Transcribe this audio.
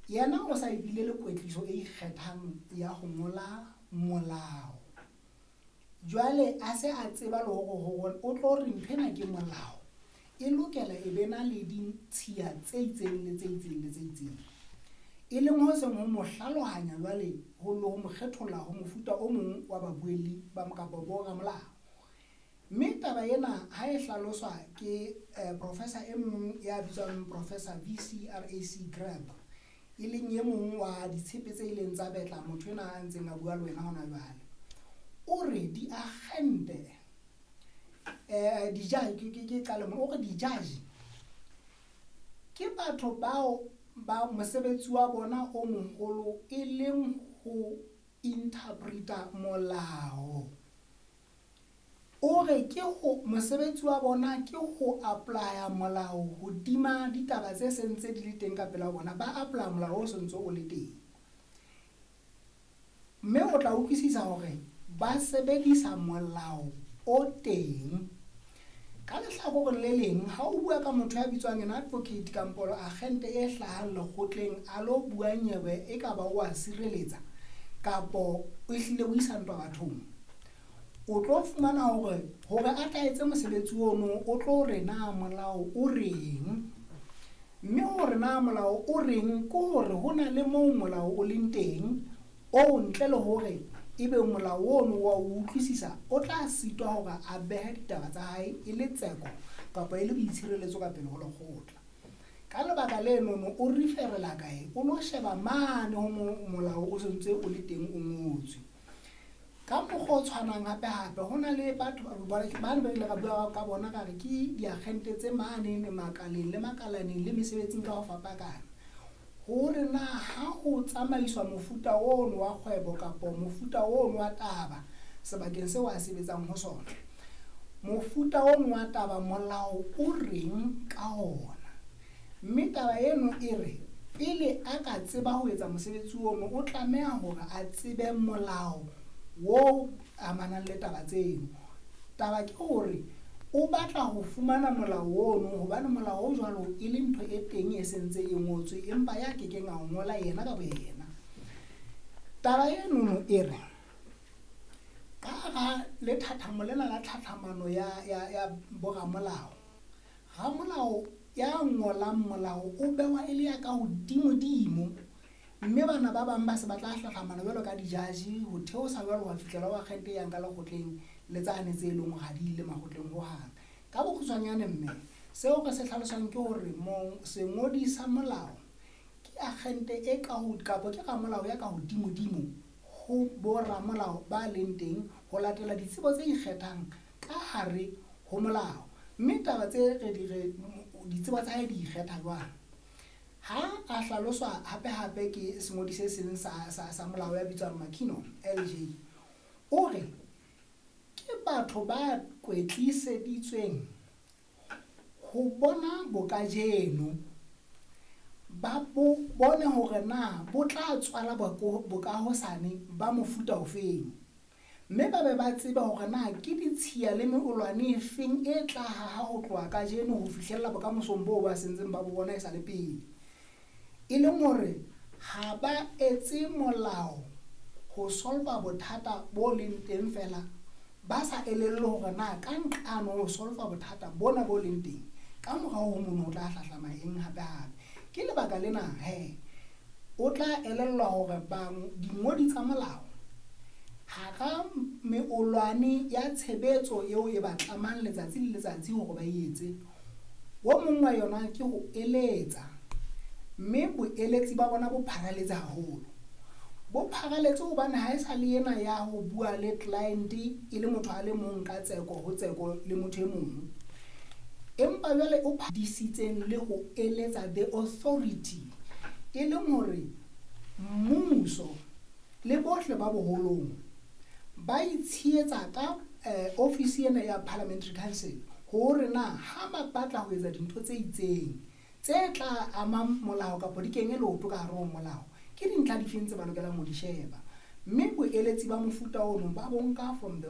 Yena o sa ebile le kwetliso e ikgethang ya ho ngola molao. Jwale a se a tseba le hore o tlo re ntho ena ke molao, e lokela e be na le ditshiya tse itseng le tse itseng le tse itseng. E leng ho seng ho mo hlalohanya jwale ho le ho mo kgetholla ho mofuta o mong wa babuelli ba kapa bo ramolao. Mme taba ena ha e hlaloswa ke professor e mong ya bitswang Professor VCRAC Grab, e leng e mong wa ditshepe tse ileng tsa betla motho ena a ntseng a bua le wena hona jwale. O re diagente di-judge, ke qale mona, o re di-judge ke batho bao ba mosebetsi wa bona o moholo e leng ho interpreta molao. O re ke ho mosebetsi wa bona ke ho apply-a molao hodima ditaba tse sentse di le teng ka pela bona, ba apply-a molao o sentse o le teng. Mme o tla utlwisisa hore ba sebedisa molao o teng. Ka lehlakoreng le leng, ha o bua ka motho ya bitswang an advocate kampo agente e hlahang lekgotleng a lo bua nyewe e ka ba o a sireletsa kapo o ehlile o isa ntwa bathong, o tlo fumana hore hore a tla etse mosebetsi ono o tlo re na molao o reng. Mme hore na molao o reng ke hore ho na le moo molao o leng teng o ntle le hore ebe molao ono wa o utlwisisa, o tla sitwa hore a behe ditaba tsa hae e le tseko kapa e le boitshireletso ka pele ho lekgotla. Ka lebaka lenono o referela kae? O lo sheba mane ho molao o sentse o le teng o ngotswe. Ka mokgwa o tshwanang hape hape ho na le batho bane ba ile ra bua ka bona ka re ke diagente tse mane makaleng le makalaneng le mesebetsing ka ho fapakana. Hore na ha ho tsamaiswa mofuta ono wa kgwebo kapa mofuta ono wa taba sebakeng seo a sebetsang ho sona, mofuta ono wa taba molao o reng ka ona. Mme taba eno e re pele a ka tseba ho etsa mosebetsi ono o tlameha hore a tsebe molao o amanang le taba tseno. Taba ke hore o batla ho fumana molao ono hobane molao o jwalo e le ntho e teng e sentse e ngotswe empa ya kekeng a o ngola yena ka boyena. Taba enono e re ka hara lethathamo lena la tlhatlhamano ya boramolao, ramolao ya ngolang molao o bewa e le ya ka hodimodimo, mme bana ba bang ba se ba tla hlahlamana jwalo ka di-judge ho theosa jwalo ho fihlela ho akgente e yang ka lekgotleng le tsane tse leng hore ha di ile makgotleng hohang. Ka bokgutshwanyane mme seo re se hlalosang ke hore sengodi sa molao ke akgente e ka ho kapa ke ramolao ya ka hodimodimo ho boramolao ba leng teng ho latela ditsebo tse ikgethang ka hare ho molao. Mme taba tse re di re ditsebo tsa hae di ikgetha jwang? Ha a hlaloswa hape hape ke sengodi se seng sa molao ya bitswang McKinnon LJ, o re ke batho ba kwetliseditsweng ho bona bokajeno, ba bo bone hore na bo tla tswala bokahosane ba mofuta ofeng, mme ba be ba tsebe hore na ke ditshiya le meolwane e feng e tla haha ho tloha kajeno ho fihlella bokamosong boo ba sentseng ba bo bona e sa le pele. E leng hore ha ba etse molao ho solva bothata bo leng teng fela, ba sa elellwe hore na ka nqane ho solva bothata bona bo leng teng, ka morao ho mono ho tla hlahlama eng hape hape. Ke lebaka lena he o tla elellwa hore dingodi tsa molao hara meolwane ya tshebetso eo e ba tlamang letsatsi le letsatsi hore ba e etse, o mong wa yona ke ho eletsa, mme boeletsi ba bona bo pharaletse haholo. Bo pharaletse hobane ha e sa le ena ya ho bua le client e le motho a le mong ka tseko ho tseko le motho e mong, empa jwale o disitseng le ho eletsa the authority, e leng hore mmuso le bohle ba boholong ba itshehetsa ka office ena ya Parliamentary Council hore na ha ba batla ho etsa dintho tse itseng tse tla amang molao kapa di kenye leoto ka hare ho molao, ke dintlha difeng tse ba lokelang ho di sheba. Mme boeletsi ba mofuta ono ba bo nka from the